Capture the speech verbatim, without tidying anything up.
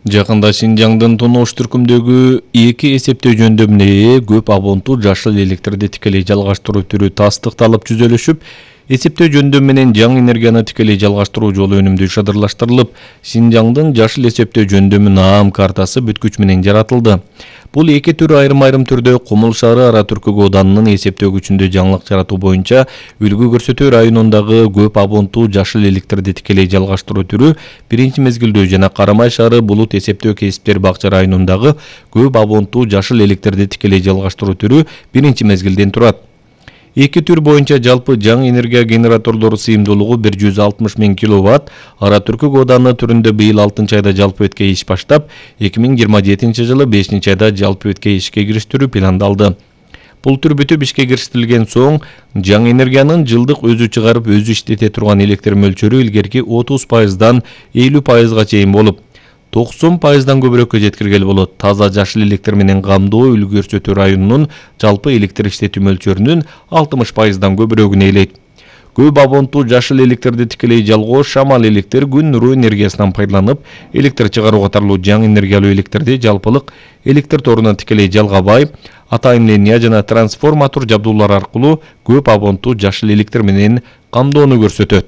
Жакында Шинжаңдын Тоноош түркүмдөгү эки эсептөө жөндөмүнө ээ көп абонттуу жашыл электрди тикелей жалгаштыруу түрү тастыкталып түзөлүшүп, эсептөө жөндөм менен жаңы энергияны тикелей жалгаштыруу жолу өнүмдүү шадырлаштырылып, Шинжаңдын жашыл эсептөө жөндөмү наам картасы бүткүч менен жаратылды. Бул эки түр айрым-айрым түрдө Кумул шаары Ара Түркүк ооданынын эсептөө күчүндө жаңылык жаратуу боюнча үлгү көрсөтүү районундагы көп абонттуу жашыл электрди тикелей жалгаштыруу түрү биринчи мезгилдөө жана Карамай шаары Булут эсептөө кесиптер бакча районундагы көп абонттуу жашыл электрди тикелей жалгаштыруу түрү биринчи мезгилден турат. Эки түр боюнча жалпы жаңы энергия генераторлору сыйымдуулугу бир жүз алтымыш миң киловатт. Ара Түркүк ооданы түрүндө быйыл алтынчы айда жалпы бетке иш баштап, эки миң жыйырма жетинчи жылы бешинчи айда жалпы бетке ишке кириштирүү пландалды. Бул түр бүтүп ишке кириштерилген соң, жаңы энергиянын жылдык өзү чыгарып өзү иштете турган электр мөлчөрү илгерки отуз пайыздан элүү пайызга чейин болуп, токсон пайыздан көбүрөккө жеткиргеле болот. Таза жашыл электр менен камдоо үлгү көрсөтүү районунун жалпы электр иштетүү мөлчөрүнүн алтымыш пайыздан көбүрөгүн ээлейт. Көп абонттуу жашыл электрди тикелей жалгоо шамал электр, күн нуру энергиясынан пайдаланып, электр чыгаруу катарлуу жаңы энергиялуу электрди жалпылык электр торунан тикелей жалгабай, атайын линия жана трансформатор жабдуулар аркылуу көп абонттуу жашыл электр менен камдоону көрсөтөт.